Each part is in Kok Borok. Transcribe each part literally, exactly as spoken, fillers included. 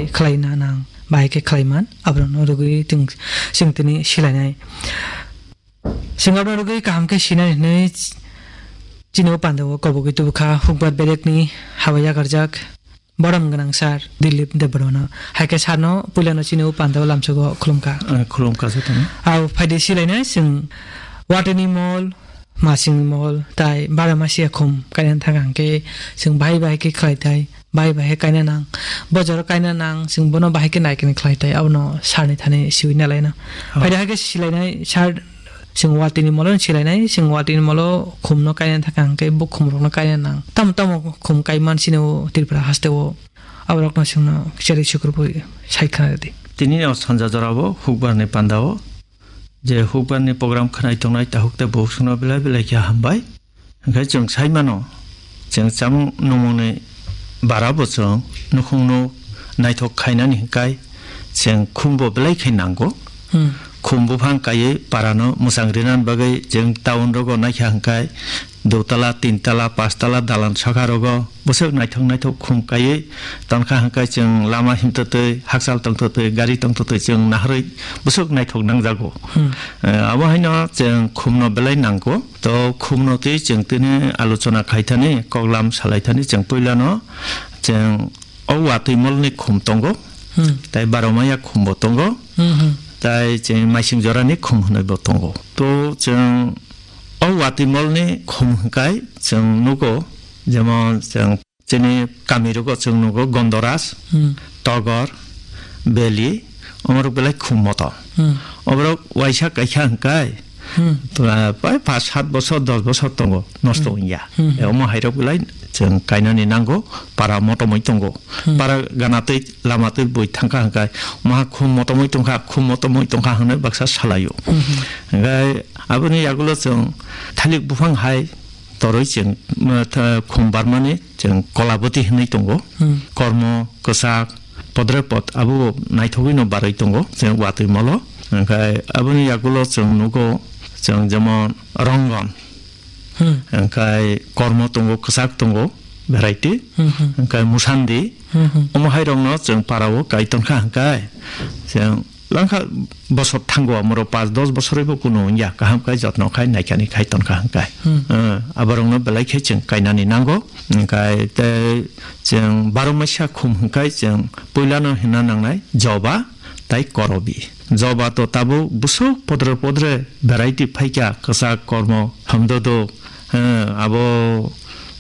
khlaina nang, bahai khe khlaiman, aborokno rwgwi twng-, chwng tini silainai. Chwng abono rwgwi kaham khe sinani hwnwi chini o pandao kobogwi tubukha hukbar bedekni habai yakarjak borom gwnang sir Dilip Debbarmano. Hai khe sirno puilano chini o pandao lamsogo khulumkha. Eh, khulumkha se tongwi. Au phaidi silainai chwng watini mol, masingni mol, tai bara masiya khum kainani thang hwnkhe chwng bahai bahai khe khlai tai. Bai bai khe kaina nang, bo jora kaina nang, chwng bono bahai khe naikani khlai tai, abono sir ni thani siwi nalaina. Oh. Phaida hai khe silainai, sir, chwng watini molo silainai, chwng watini molo khumno kaina thaka hwnkhe bo khumrokno kaina nang. Tamo tamo khum kaiman sini o Tripura haste o, aborokno chwngno cherwi sukrubwi sai khna rwdi. Tini o sanja jorao hukbarni pandao je hukbarni program khwnai tongnai tahuk tei bukhukno belai belai khe hambai. Hwnkhe chwng sai mano, chwng chamung nungmungni bara bo chwng nukhungno naithok khainani hwnkhe chwng khumbo belai khe nango. Hmm. Khum buphang kaiwi parano mwchang rinani bagwi chwng town rogo naikha hwnkhe dutala, tintala, pachtala dalan saka rogo bwswk naithok naithok khum kaiwi tonkha hwnkhe chwng lama himtwtwi, hakchal tongtwtwi, gari tongtwtwi chwng naharwi bwswk naithok nangjago. Hmm. Eh, abo haino chwng khumno belai nango. To khumno twi chwng tini alochona khaithani, koklam salaithani chwng puilano chwng o watwi molni khum tongo, Hmm. tai baro maya khumbo tongo, Hmm, hmm. tai chwng maising jorani khum hwnwibo tongo. To chwng o watwi molni khum hwnkhe chwng nugo, jemon chwng chini kami rogo chwng nugo Gondoras, Hmm. Togor, Beli, omorok belai khum moto. Hmm. Oborok waisa kaisa hwnkhe, Hmm. tura pai pas sat bosor, dos bosor tongo, nosto Hmm. wngya. Hmm. E, omo hairok belai chwng kainani nango, para motomoi tongo. Hmm. Para gana twi, lama twi bui thangkha hwnkhe, maha khum motomoi tongkha, khum motomoi tongkha hwnwi baksa salaio. Hmm. Hwnkhe aboni yagulo chwng thalik buphang hai toroi chwng, uh, tha-, khum barmani chwng kolaboti hwnwi tongo. Hmm. Kormo, kwchak, podre pod abo naithogwi no barwi tongo chwng watwi molo. Hwnkhe aboni yagulo chwng nugo chwng jemon rongon. Hmm. Hwnkhe kormo tongo, kwchak tongo, variety. Hmm, hmm. Hwnkhe musandi. Hmm, hmm. Omo hai rokno chwng parao kai tongkha hwnkhe chwng langkha bosor thango, amoro pas dos bosor bo kunu wngya, kaham khai jotno khai naikani khai tonkha hwnkhe. Hmm. Eh, aborokno belai khe chwng kainani nango. Hwnkhe tei chwng baro maisa khum hwnkhe chwng puilano hwnna nangnai joba tai korobi. Joba to tabuk bwswk podre podre variety phaikha, kwchak, kormo, hamdodo, eh, abo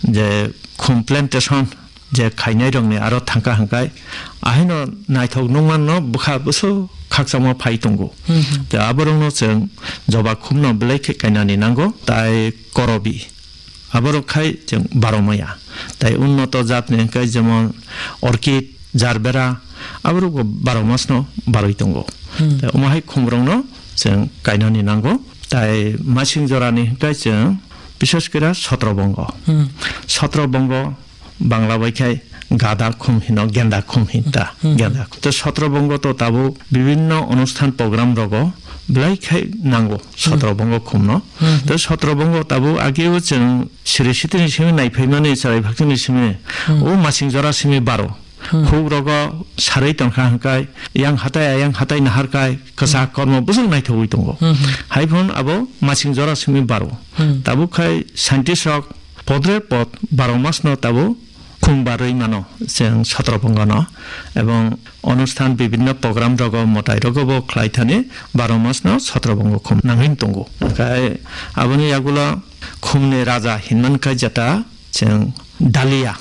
je khum plantation je khainai rokni aro thangkha hwnkhe ahaino naithok nukmanno bwkha bwswk khakchangma phai tongo. Hmm, hmm. Tei aborokno chwng joba khumno belai khe kainani nango, tai korobi. Aborok khai chwng baro maya. Tai unnoto jatni hwnkhe jemon orchid, jarbera, aborokbo baro masno barwi tongo. Hmm. Tai omo hai khumrokno chwng kainani nango. Tai masing jorani hwnkhe chwng bishes kore sotrobongo. Hmm. Sotrobongo Bangla bai khai gada khum hino, genda khum hinta, Hmm, hmm, genda. To sotrobongo to tabuk bibinno onusthan program rogo belai khai nango Hmm. sotrobongo khumno. Hmm. To sotrobongo tabuk ageo chwng siri sitini simi naiphaimani, chwrai bhaktini simi, Hmm. o masing jora simi baro. Hmm. Huk rogo sarwi tongkha hwnkhe yang hatai ayang hatai naharkai kwchak Hmm. kormo bwswk naithogwi tongo. Hmm, hmm. Hai phano abo masing jora simi baro. Hmm. Tabuk khai scientist rok podre pod baro masno tabuk khum barwi mano chwng sotrobongo no, ebong onusthan bibinno program rogo mwtai rogo bo khlai thani baro masno sotrobongo khum nangwi tongo. Hwnkhe aboni yagulo khumni raja hinman khe jeta chwng dalia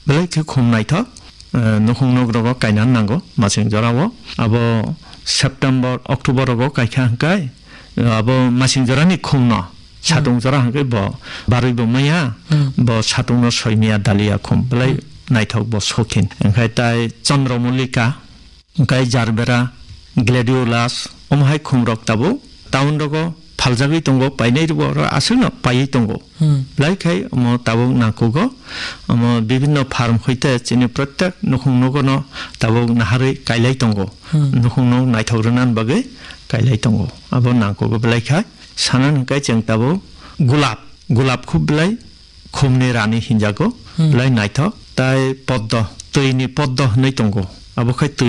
belai khe khum naithok, eh, nukhung nuk rogo kaina nango masing jorao. Abo September, October rogo kaikha hwnkhe, eh, abo masing jorani khumno Hmm. satung jora hwnkhe bo barwi bo maya, Hmm. bo satungno soi maya dalia khum belai Hmm. naithok bo sokhin. Hwnkhe tai Chandramallika, hwnkhe jarbera, gladiolus, omo hai khumrok tabuk town rogo phaljagwi tongo, painai rwbo oro aswkno paiwi tongo. Hmm. Belai khai omo tabuk nangkugo, omo bibinno farm hoite chini protek nukhung nugono tabuk naharwi kailai tongo. Hmm. Nukhung nuk naithok rwnani bagwi kailai tongo. Abo nangkugo belai khai. Sanani hwnkhe chwng tabuk gulab, gulab khub belai khumni rani hinjago, Hmm. belai naithok. Tai poddo, twini poddo hwnwi tongo. Abo khai twi